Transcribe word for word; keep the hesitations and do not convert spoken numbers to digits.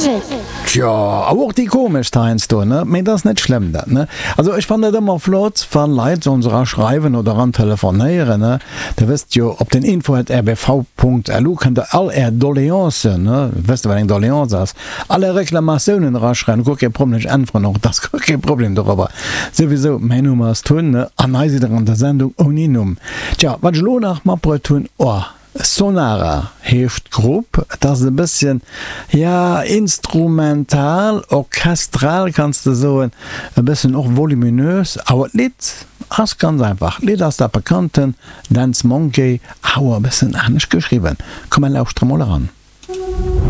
Musek. Tjo, awer och déi komeschst heiansdo, ne? Mee et ass net schlëmm dat, ne? Also ech fannen et ëmmer flott, wa Leit ons era schreiwen oder eran telefonéieren, ne? Der wësst jo, op den info at rbv punkt lu kënnt der all är Doleancen, ne, wësst der wat eng Doleance ass, all är Reklamatiounen eraschreiwen, guer kee Problem, ech äntweren och, et ass guer kee Problem dorobber. Souwisou, mäin Numm ass Tun, ne, an hei sidd der an der Sendung ouni Numm. Tja, wat ech elo nach matbruet hunn, oh, Sonara heescht d'Grupp, et ass e bësschen, jo, instrumental, orchestral kanns de soen, e bëssen och voluminös, awer d'Lidd ass ganz einfach, d'Lidd ass dat bekannten Dance Monkey, awer e bëssen anescht geschriwwen. Komm mer lauschtere mol eran.